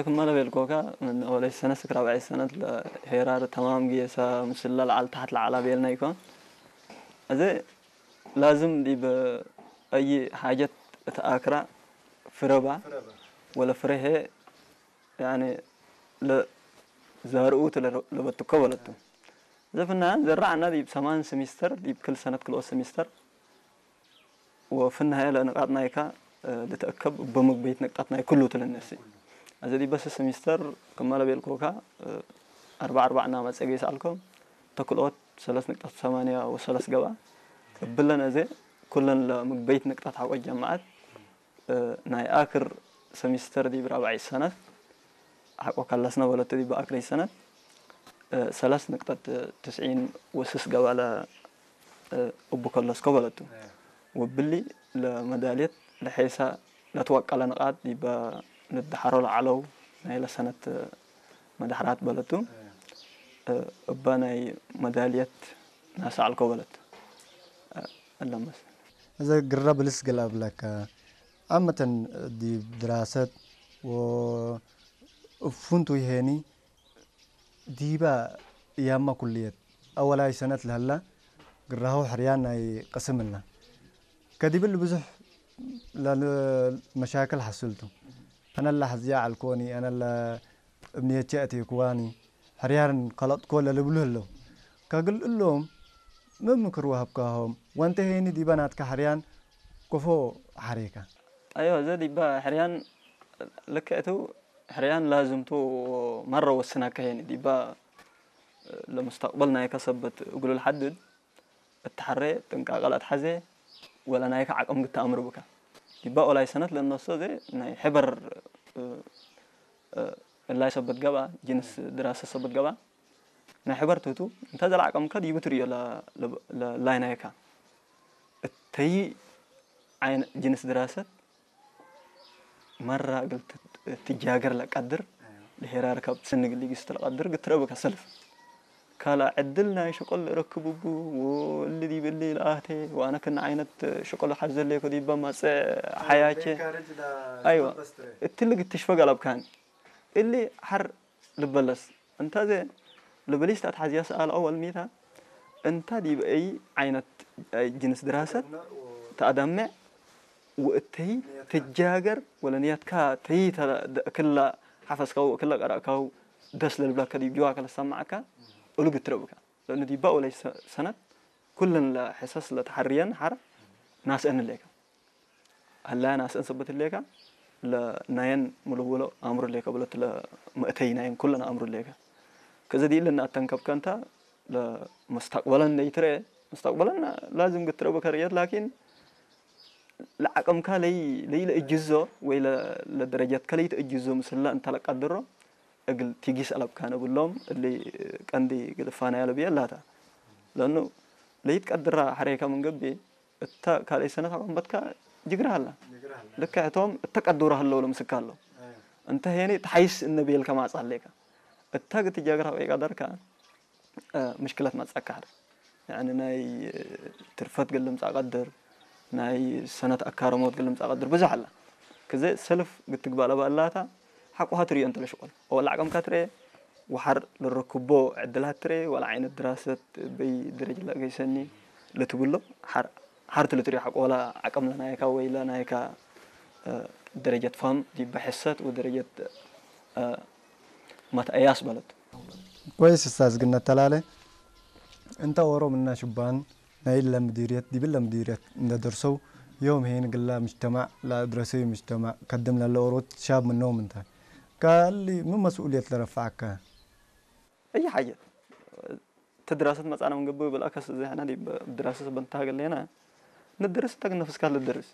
ክመለ ቤልኮካ ምን ወለይ ሰነስ ክራብዐይ ሰነት ለሄራር ተማም ጌሳ ምስላ ለዓል ታሕት ለዓላ ቤልና ይኮን። እዚ ላዝም ዲብ ኣይ ሓጀት እተኣክራ ፍረባ ወለ ፍረሄ ያኒ ለዛርኡ ለበትኮ በለቱ። ዘፍና ዘራዕና ዲብ ሰማን ሰሚስተር ዲብ ክል ሰነት ክልኦ ሰሚስተር ወፍናሀ ለንቃጥ ናይካ ልትአከብ በምግበይት ነቅጣት ናይ ኩሉ ትልነሲ። እዚ ዲበስ ሰሚስተር ክመለ ቤልኮካ ኣርባ ኣርባዕና መጸገ ይሰኣልኮም ተክልኦት ሰለስ ነቅጣት ሰማንያ ወሰለስ ገባ እብለን እዚ ኩለን ለምግበይት ነቅጣት ሓቆ ጀማዓት ናይ ኣክር ሰሚስተር ዲብ ራብዓይ ሰነት ሓቆ ካላስና በለቱ ዲብ ኣክረይ ሰነት ሰለስ ነቅጣት ትስዒን ወስስ ገባለ እቡ ከለስኮ በለቱ። ወብሊ ለመዳልየት ለሐይሳ ለትወቀለ ንቃት ዲበ ልድሓሮ ለዓለው ናይ ለሰነት መዳሕራት በለቱ። እባ ናይ መዳልየት ናሳዕልኮ በለቱ። ኣለመስ እዘ ግራ ብልስ ገላ ብለካ ዓመተን ዲብ ድራሰት ወእፉንቱ ይሄኒ ዲባ ያማ ኩልየት ኣወላይ ሰነት ለህላ ግራሁ ሕርያን ናይ ቅስምልና ከዲብል ብዙሕ ለል መሻክል ሓስልቱ። ኣነላ ሕዝያ ዓልኮኒ፣ ኣነላ እምንየቼ ኣቴክዋኒ፣ ሕርያርን ከለጥኮ ለልብሉ ህለው። ከግል እሎም መምክር ወሃብካሆም፣ ወንተ ሄኒ ዲባ ናትካ ሕርያን ኮፎ ሓሬካ። ኣዮ፣ እዘ ዲባ ሕርያን ልክዕቱ ሕርያን ላዝምቱ መረ ወስናካ ሄኒ ዲባ ለሙስተቅበል ናይካ ሰበት እግሉ ልሓድድ እትሓረ ጥንቃቀ ለትሓዜ ወላ ናይካ ዓቅም ግተኣምር ብካ። ዲባ ኦላይ ሰነት ለነሶ ዘ ናይ ሕበር እላይ ሰበት ገባ ጅንስ ድራሰ ሰበት ገባ ናይ ሕበር ትህቱ እንተ ዘለዓቀምካ ዲቡ ትርእዮ ለ- ለ- ለ- ላይናይካ እተይ ዓይነ ጅንስ ድራሰት መራ እግል ት- ትጃገር ለቀድር ድሄራር ካብ ስንግ ሊግስ ትለቀድር ግትረብካ ሰልፍ ካልኣ ዕድል ናይ ሸቆል እረክብቡ ወእሊ ዲብሊ ለኣህቴ ወኣነ ክና ዓይነት ሸቆል ሓዘለይ ኮዲባ ማፀ ሓያቼ ኣይዋ እትልግ ትሽፈግ ኣለብካን እሊ ሓር ልበለስ እንታዘ ልበሊስ ታትሓዝያ ሰኣል ኣወል ሚታ እንታ ዲብ ኣይ ዓይነት ጅንስ ድራሰት ተኣዳምዕ ወእተይ ትጃገር ወለ ንያትካ ተይ ክላ ሓፈስካው ክላ ቀራእካው ደስ ለልብላካ ዲብ ጅዋ ከለሰማዕካ እሉ ግትረብካ ለእኑ ዲባ ወለይ ሰነት ኩለን ለሕሰስ ለተሓርየን ሓር ናስአን ሌካ። ኣላያ ናስአን ሰበት ሌካ ለናየን ምልውሎ ኣምሩ ሌካ ብለት ለመእተይ ናየን ኩለን ኣምሩ ሌካ። ከዚ ዲኢ ለናተንከብከ እንታ ለመስተቅበለን ለይትረኤ መስተቅበለን ላዝም ግትረቡ ከርእየት ላኪን ለዓቅምካ ለይ ለይ ለእጅዞ ወይ ለደረጃትካ ለይተእጅዞ ምስላ እንታ ለቃድሮ እግል ቲጊስ ኣለብካ ነብሎም እሊ ቀንዲ ግልፋና ያለብየ ላታ ለኑ ለይትቀድራ ሓሬካ ምንገቢ እታ ካልኣይ ሰነት ኣቆምበትካ ጅግራ ኣላ ልክዕቶም እተቀድሩ ኣለዉ ለምስካ ኣሎ እንተ ሄኒ ተሓይስ እነብየልካ ማጻ ኣለካ እታ ግትጃግራ ወይ ቀደርካ ምሽክለት ማጻካ ሓር ያኒ ናይ ትርፈት ገለ ምጻ ቀድር ናይ ሰነት ኣካረሞት ገለ ምጻ ቀድር ብዙሕ ኣላ ክዘ ሰልፍ ግትግባእ ለባእላታ ሓቁሃ ትርእዮ እንተለ ሽቆል ወላ ዓቀምካ ትርኤ ወሓር ልረክቦ ዕድላት ትርኤ ወላ ዓይነት ድራሰት በይ ደረጅ ላ ገይሰኒ ልትብሎ ሓር ሓርቲ ልትሪኦ ሓቆላ ዓቀም ለናይካ ወይ ለናይካ ደረጀት ፋም ዲበ ሕሰት ወደረጀት መትአያስ በለት። ኮይስ እስታዝ ግን ነተላለ እንተ ኦሮም እና ሽባን ናይ ለምዲርየት ዲብል ለምዲርየት እንደ ደርሰው يوم هين قلا مجتمع لا درسي مجتمع قدم لله أوروت شاب منهم انت قال لي من مسؤولية لرفعك أي حاجة تدراسة مثلا من قبل بالأكس زي حنا دي دراسة بنتها قال لنا ندرس تاك نفس كان للدرس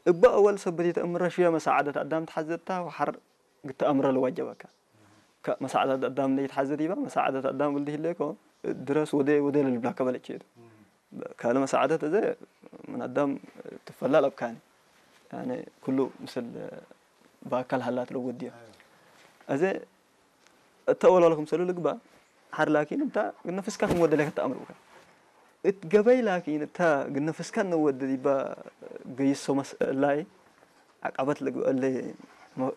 እባ እወል ሰበት የተእምረ ሽየ መሳዓደት ኣዳም ተሓዘታ ወሓር ግተኣምረ ለዋጀበካ መሳዓደት ኣዳም ለይተሓዘት ይባ መሳዓደት ኣዳም ብልዲ ህሌኮ ድረስ ወደ ወደ ለልብላከ በለች ሄዱ ካልእ መሳዓደት እዘ ምን ኣዳም ትፈላል ኣብካኒ ኩሉ ምስል ብኣካል ሃላት ለወድዮ እዘ እተወላሉ ክምሰሉ ልግባ ሓር ላኪን እንታ ግነፍስካ ክም ወደለ ከተኣምር ብካ እት ገበይ ላኪን እታ ግነፍስካ ነወደ ዲባ ገይሶ መስእላይ ዓቃበት ልግበአለ م-